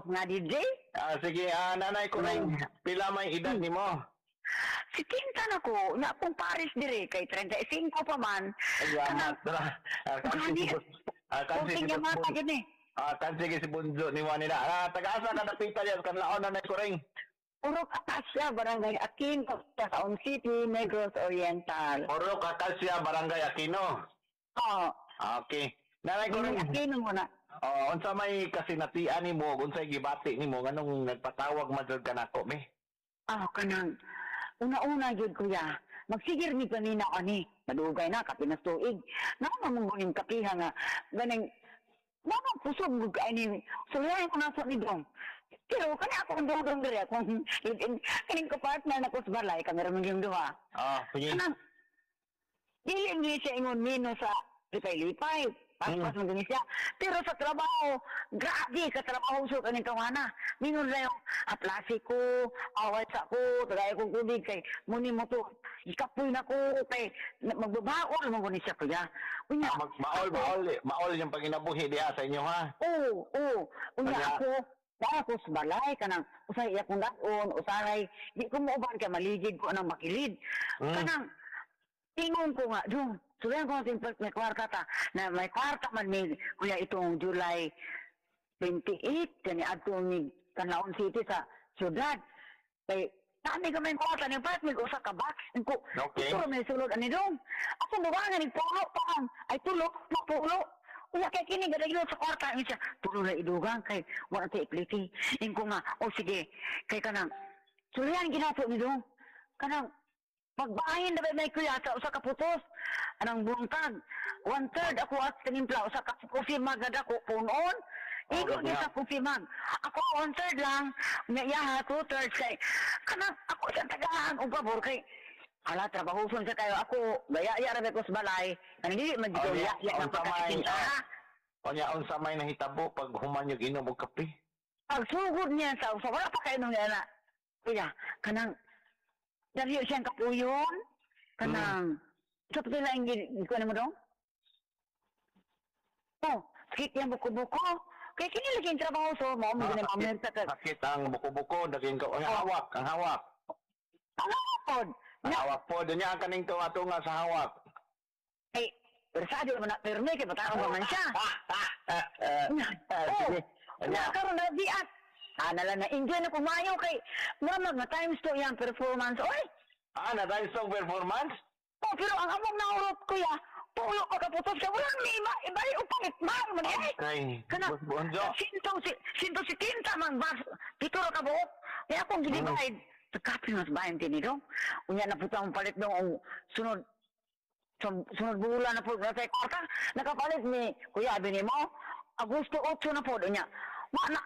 nga DJ. Ah, sige, Nanay Kuring, pila may edad nimo? Si Tinta na ko, na akong Paris dire kay 35 pa man. Ay, Kanang, tara. Ah, kansi Gani. si ah, kansi Kunting si yamata gid ni. Ah, kansi si Bunzo ni Juan nila. Ah, taga-asa ka dapita diyan kanlaon, Nanay Kuring? Purok Acacia, Barangay Aquino, Quezon City, Negros Oriental. Purok Acacia, Barangay Aquino. Oh, Ah, okay. Nanay Kuring, Aquino mo na. Oh, unsa may kasinatian nimo, unsay gibati nimo nganong nagpatawag man jud kanako mi? Ah, kanang una-una gyud, kuya. Magsigir ni kanina ani. Madugay na kapinas tuig. Naa man guning kapiha nga ganing Mama kusog gud kay ni sulayan ko na sa ni dong. Pero kani ako ang dong dire akong kaning ko partner na ko sa balay kami ra man yung duha. Ah, sige. Kanang dili ni siya ingon mino sa lipay-lipay. Paspas man gani siya. Pero sa trabaho, grabe ka trabaho sa kaning kawana. Mingon lang yung aplasi ko, away sa ko, tagay kong tubig kay muni mo to. Ikapoy na ko kay magbabaol mo gani siya, kuya. Unya, Ah, maol, maol, maol yung panginabuhi diha sa inyo, ha? Oo. Unya ako, naa ako sa balay kanang usay iya kong daon, usahay di ko muuban kay maligid ko anang makilid. Kanang ingon ko nga, dong, sulayan ko ang may kwarta ta, na may kwarta man mi, kuya, itong July 28, kani adto ni Canlaon City sa syudad. Kay, nami ka may kwarta, ni part may usa ka box. Ko, ito may sulod ani dong. Ako buwangan ni pulo pa ang, ay tulo, pulo. Unya kay kini gadagilo sa kwarta ni siya. Tulo na idugang kay wala tay ipliti. Ingko nga, oh sige, kay kanang sulayan ginato ni dong. Kanang pagbahin na ba may kuya sa usa ka putos anang buntag one third ako at tinimpla usa ka coffee mug na dako punon igo ni sa coffee mug ako one third lang nya iya two thirds kay kanang ako sa tagahan og pabor kay ala trabahoson sa kayo ako gaya ya ra ko sa balay kanang dili man Oh, jud yeah. ya ya Unsa may, pagkakasinta. Unya unsa may nahitabo pag human yung inom og kape? Pagsugod niya sa usa wala pa kayo nung na kuya kanang dali siyang kapuyon kanang sa pila ang gikuan mo dong. Oh, sakit yang buko-buko kay kini lagi ang trabaho so mo mo Ah, gani sakit, mamerta ka. Sakit ang buko-buko, daging ka, ang Oh. hawak, ang hawak. Ang hawak. Ang Na hawak po, dunya ang kaning tunga-tunga sa hawak. Ay persado man na pirmi kay bataon pa man siya. Ah, Oh, sige. na karon na biat. Ah, nala na enjoy na kumayo kay mura mag na times to iyang performance. Oy, Ah, na times two performance? Oh, pero ang among naurot, kuya, pulo ka kaputos ka, walang may iba, iba o palit man, man eh. Okay. Kana, Boss Bonjo. Sinto si tinta man, bas, pito ra ka buok. Kaya akong gidivide. Kapi mas bayan tini dong. Unya na puto ang palit dong, ang sunod, sunod bulan na po, na sa kwarta, nakapalit ni, kuya, abi ni mo, Agosto 8 na po, unya. Ma, na,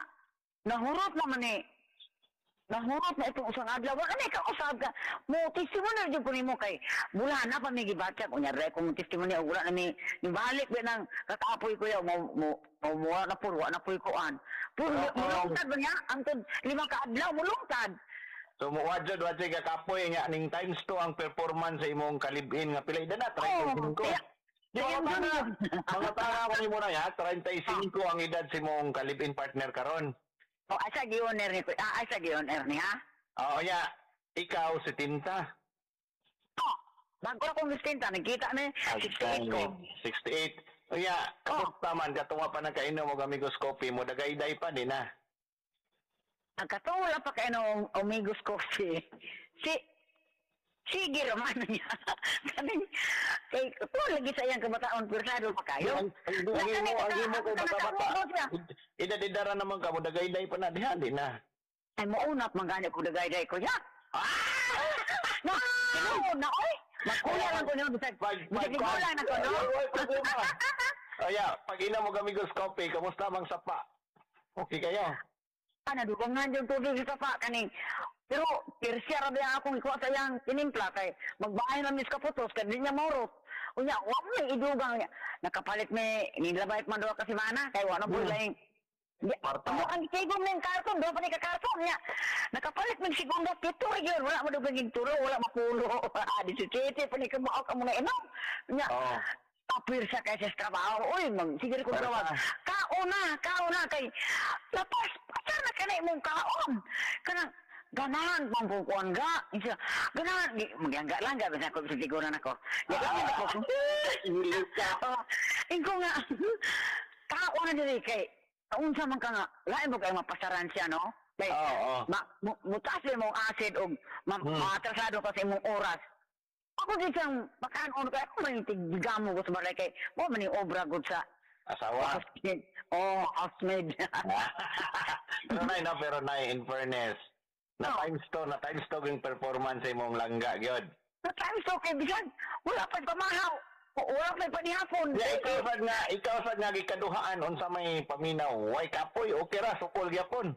nahurot naman eh. Nahurot na itong usang adlaw. Wala na ikaw usab ka. Mo testimony jud ko nimo kay mula na pa may gibatyak unya re kung testimony og wala na mi nibalik ba nang kakapoy ko yaw mo mo mo mo na po wa na po'y kuan. Puro mulungtad ba niya? Antod 5 ka adlaw mulungtad. So mo wadjod wadjod kakapoy nga ning times 2 ang performance sa imong kalibin nga pila edad na? Oh, 35. kaya Mga yun tanga, yun. mga tanga ko nimo na ya, 35 ang edad sa imong kalibin partner karon. Oh, asa gi-owner ni ko? Ah, asa gi-owner ni ha? Oo nya, ikaw 70. Oh, bago akong 70, nagkita ni 68 ko. 68. Unya, kamusta man katunga pa nagkainom og Amigos Coffee mo dagayday pa din na? Ang katong wala pa kayo ng Amigos Coffee. Si sige romano niya. Kaning kay ko lagi sa iyang kabataan persado pa kayo. Ang imo kay bata-bata. Edad-edara naman ka mo dagayday pa na diha din na. Ay mo unap man gani ko dagayday ko ya. Ah! No, tinuod na oy. Magkuya lang ko niyo bisag. Pag Bisag igulang na ko no. Ay, problema. Oya, pag inom og Amigos Coffee, kamusta mang sapa? Okay kayo? Ah, nadugangan yung tubig sa sapa kaning. Pero pirsiya ra ba akong ikuha sa iyang tinimpla kay magbahay na mis kaputos kay di niya maurot. Unya, wa mo yung idugang niya. Nakapalit may nilabay man duha ka semana kay wa na po laing. Di, Kwarta. amo ang tigom ng karton, duha pa ni ka karton niya. Nakapalit mig segundo pito ra gyud, wala mo dugang tulo, wala mapulo. Di si Titi pa ni kamao ka mo na inom. Nya, tapir siya kay sa trabaho. Uy, mag sige ko Pero trabaho. Kauna, kauna kay lapas pasar na imong kaon. Kanang ganahan pang pukuan ga. Isa, ganahan, magyangga lang ga, bisan ko sa tiguran ako. Ya lang ako. Ilig ka. Oh, ingko nga, kaon na diri kay, unsa man ka nga, lain mo kay mapasaran siya, no? Kay, Oo. mutaas mo acid og maatrasado ka sa imong oras. Ako di siyang makanon kay ako man tigamo ko sa balay kay mo man ni obra gud sa Asawa. Housemaid. Oh, housemaid. Pero nay, no, pero nay, in fairness, na times to yung performance sa imong langga, gyud. Na times to kay bisan wala pa pamahaw. Wala pa panihapon. Yeah, ikaw sad nga gikaduhaan unsa may paminaw. Way kapoy, okay ra, sukol gyapon.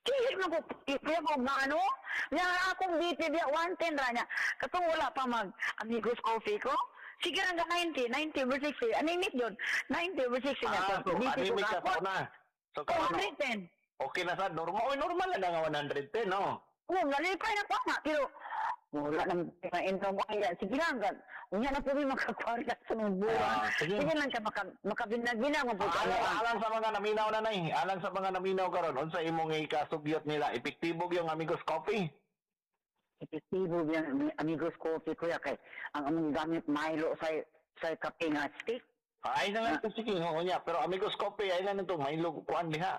Sige man ko, kaya ko maano, nya akong BP biya 110 ra niya. Katong wala pa mag Amigos Coffee ko. Sige lang ka 90, 90 over 60. Anemic yun. 90 over 60 niya. Ah, so BP ko anemic ka gapon. sa una. So karon 210. okay na sad, normal. Oy, normal na nga 110, no. Oh, nalipay na pa nga. Pero wala nang mainom ko. Kaya sige lang. Unya na po may makakwarta sa mga buwan. Ah, sige. Sige lang ka makabinag-binag. Alang sa mga naminaw na nay, alang sa mga naminaw karon, unsa imong ikasugyot nila? Epektibo yung Amigos Coffee. Epektibo yung Amigos Coffee, kuya. Kay ang among gamit Milo sa kape nga stick. Ay na lang to, sige, oo niya. Pero Amigos Coffee ay na nito, Milo kuan diha.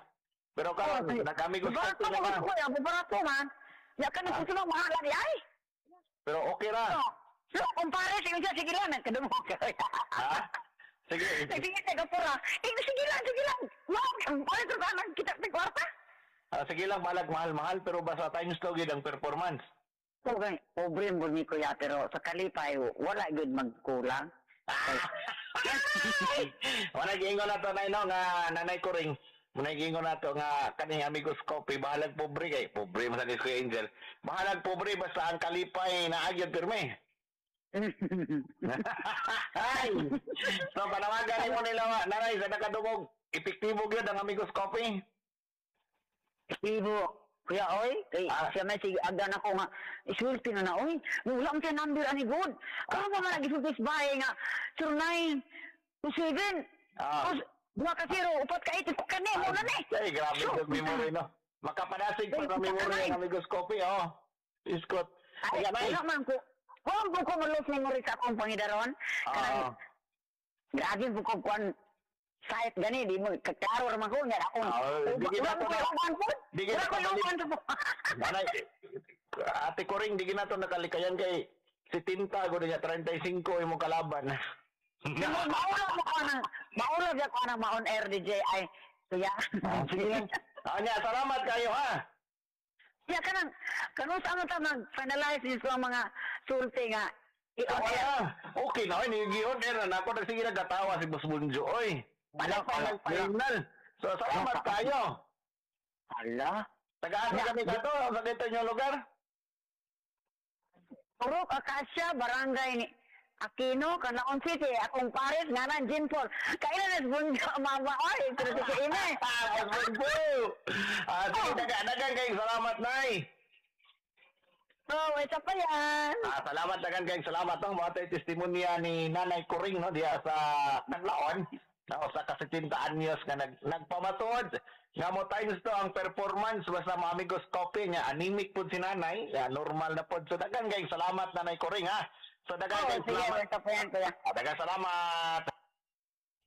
Pero karon Oh, nag-Amigos Barato Coffee na mo ka. kuya, barato man. Ya ka nang susunod mahal ni ay. Pero okay ra. So, kumpare sige siya sige lang nagkadungog ka. Ha? Sige. Sige taga pura. Eh, sige lang, sige lang. Mao, kumpare sa nang kita sa kwarta. Ah, sige lang, balag mahal-mahal pero basta times to gyud ang performance. Okay, pobre mo ni kuya pero sa kalipay wala gyud magkulang. Wala giingon na to nay no nga nanay ko ring. Muna giingon na to nga kaning Amigos Coffee bahalag pobre kay pobre man sa ni Kuya Angel. Bahalag pobre basta ang kalipay na agyod pirmi. Ay. So panawagan nimo nila wa nanay sa nakadungog epektibo gyud ang Amigos Coffee. Ibo, kuya oy, kay siya may sige agdan ako nga isulti na na oy. Wala man siya number ani good. Karon pa man nagisulti sa bahay nga 09 27. 2 ka 0, 4 ka 8 ko kani mo na ni. Ay, grabe yung memory no. Makapadasig pa sa memory ang Amigos Coffee oh. Iskot. Ay, wala man ko. Wala po ko malos memory sa akong pangidaron. Kanang grabe po ko kuan site gani di mo kaklaro ra man ko nya akong. Di Wala gid ko iuban po. Di gid Wala ko iuban po. Nanay, ate ko ring, di ginato nakalikayan kay si Tinta, gud niya, 35 imong kalaban. Maulaw mo ko nang maulaw ko nang ma-on air DJ ay kuya. Sige lang. Anya, salamat kayo ha. Ya kanang kanus ano ta mag finalize dito ang mga sulti nga i-on air. Okay na, oy, ni-on air na ako nagsige nagkatawa si Boss Bunjo, oy. Wala pa, wala pa. Signal. So salamat kayo. Hala. Tagaan kami kato sa dito inyong lugar. Purok Acacia, Barangay ni Aquino, Canlaon City, akong pares ngaran Jean Paul. Kailan na Bunjo mama oy, pero si Ime. Boss Bunjo. Sige, dagan kayong salamat nay. Oh, isa pa yan. Salamat dagan kayong salamat no. Mga tayo testimonya ni Nanay Kuring no diha sa Canlaon. No, sa ka-70 anyos nga nagpamatuod nga mo times to ang performance basta mga Amigos Coffee nga anemic pud si nanay, ya, normal na pud. So dagan kayong salamat Nanay Kuring ha. So dagan Oh, kayong sige, salamat. isa pa yan, kuya. Dagan salamat.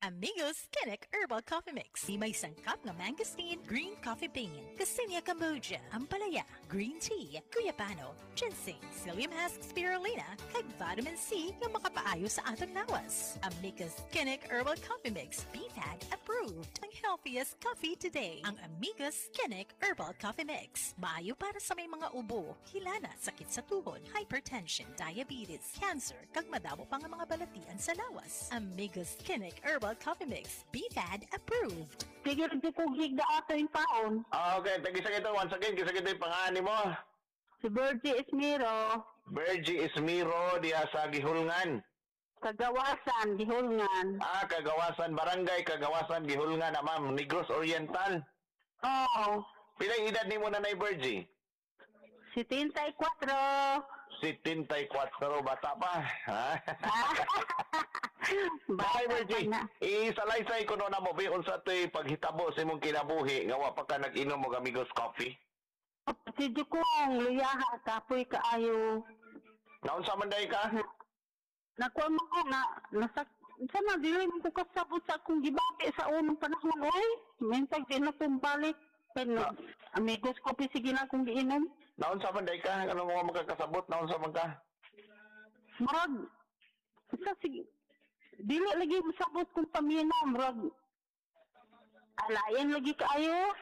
Amigos Kinnick Herbal Coffee Mix. May sangkap nga mangosteen, green coffee bean, Garcinia Cambogia, ampalaya, green tea, guyabano, ginseng, psyllium husk spirulina, kag vitamin C nga makapaayo sa atong lawas. Amigos Kinnick Herbal Coffee Mix, BFAD approved. Ang healthiest coffee today. Ang Amigos Kinnick Herbal Coffee Mix. Maayo para sa may mga ubo, hilana, sakit sa tuhod, hypertension, diabetes, cancer, kag madamo pa nga mga balatian sa lawas. Amigos Kinnick Herbal Coffee Mix, BFAD approved. Sige, di ko gigda ato yung taon. Okay, tagisa kita once again, gisa kita yung pangani mo. Si Virgie Esmiro, Virgie Esmiro diha sa Gihulngan. Kagawasan, Gihulngan. Kagawasan Barangay, Kagawasan Gihulngan na ma'am, Negros Oriental. Oo. Pila edad nimo Nanay Virgie? 74. 74, bata pa. Ha? Bata Bye, pa Virgie. na. Isalaysay ko no na mo, bi, unsa to'y paghitabo sa imong kinabuhi nga wa pa ka nag-inom og Amigos Coffee? Si Jukong, luyaha, kapoy kaayo. Naunsa man day ka? Nakuha mo ko na, nasa, sana dili mo ko kasabot sa akong gibati sa unang panahon, oy. Minsan di na kong balik. Pero, amigos ko, sige na akong giinom. Naunsa man day ka? Ano mo makakasabot? Naunsa man ka? Murag, sa sige, dili lagi masabot kong paminaw, murag, alayan lagi kaayo.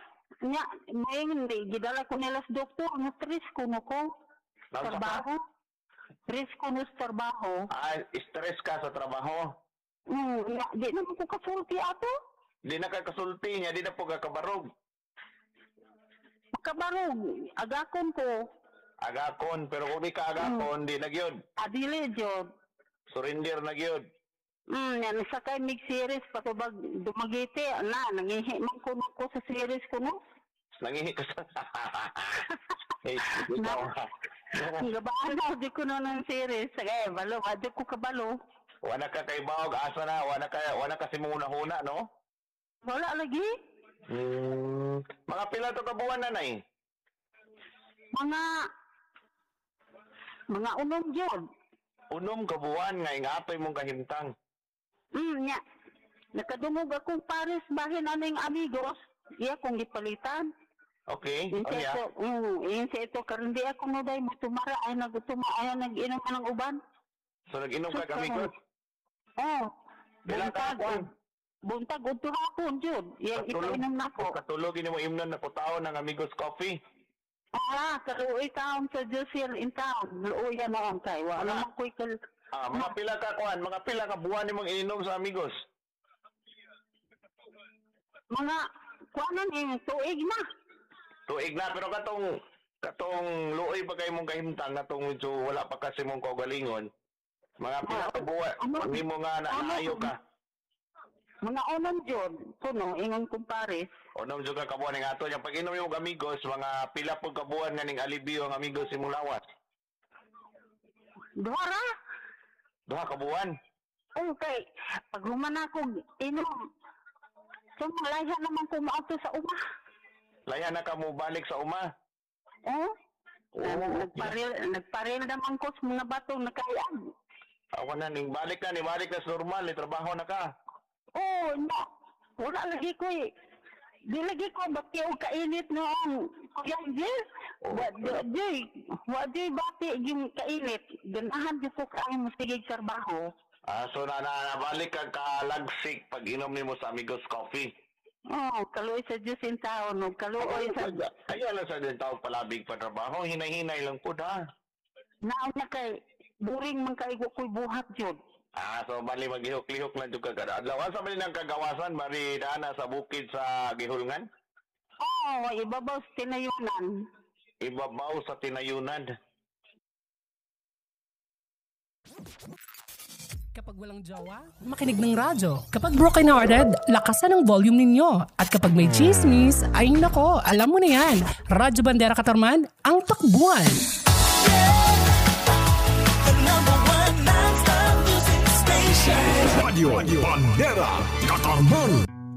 Nya, may hindi, gidala ko nila sa doktor, nga stress ko no ko. Naunsa ka? Trabaho. Stress ko no sa trabaho. Ah, stress ka sa trabaho. Nya, di naman ko kasulti ato. Di na ka kasulti niya, di na po ka kabarog. Makabarog, agakon ko. Agakon, pero kung di ka agakon, di na gyud. Adili, jud. Surrender na gyud. Yan, sakay mig series patubag Dumaguete, na nangihi man kuno ko sa series ko no. Nangihi ka sa... Hey, ikaw ha. Gabaan na di ko no ng series. Sige, balo, adi ko kabalo. Wala ka kay Baog, asa na, wala ka simuna-huna, no? Wala lagi. Mga pila to ka buwan, nanay? Mga unom jud. Unom ka buwan nga ingatoy mong kahimtang. Nya. Nakadungog akong pares bahin aning amigos. Iya kong gipalitan. Okay. Yun Oh, sa yeah. ito, yun sa ito, karon di ako mo day, mutumara, ay nagutuma, ay nag-inom ka ng uban. So nag-inom ka Sus, amigos? Oh, Pila ka buntag, kuan? buntag, udto hapon, jud. Iyang ipainom na ko. Katulog ini mo imnon na kutaon ng amigos coffee. Ah, kaluoy taon sa Josiel in town. Luoy na noon kay. Wala Wala. man ko'y kal... Ah, mga pila ka kuan, mga pila ka buwan nimong ininom sa amigos. Mga, kuanan eh, tuig na. Tuig na pero katong luoy pa kay mong kahimtang katong medyo wala pa kasi mong kaugalingon. Mga pila ka buwan, Ano? pag nimo nga na Ano? naayo ka. Mga unom jud, kuno, ingon kong pares. Unom jud ka kabuan ning ato nya pag inom imong amigos, mga pila pud ka buwan nga ning alibio ang amigos imong lawas. Duha ra. Duha ka buwan. Okay, pag human ako, inom. So, malaya naman ko maato sa uma. Laya na ka mo balik sa uma. Oh? Oo. Nagparil naman ko sa mga batong nakayag. Ako na ning balik na ni balik na sa normal, ni trabaho na ka. Oh, no. Wala lagi ko eh. Di lagi ko bati og kainit noon. Kuya Angel, wa di bati yung kainit. Ganahan di ko kaayo mo sige trabaho. Ah, so na, na nabalik ka kalagsik pag inom nimo sa Amigos Coffee. Oh, kaluoy sa Diyos in taon, no? Kaluoy sa Ayaw lang sa din tao palabig pa trabaho, hinay-hinay lang po da. Naon na kay boring man kay ko'y buhat jud. Ah, so bali maglihok-lihok lang jud ka kada adlaw. Asa bali nang kagawasan bali dana sa bukid sa Gihulngan? Oh, ibabaw sa tinayunan. Ibabaw sa tinayunan. Kapag walang jowa, makinig ng radyo. Kapag broken hearted, lakasan ang volume ninyo. At kapag may chismis, ay nako, alam mo na yan. Radyo Bandera Katarman, ang takbuhan. The number one non-stop music station. Radio Bandera Katarman.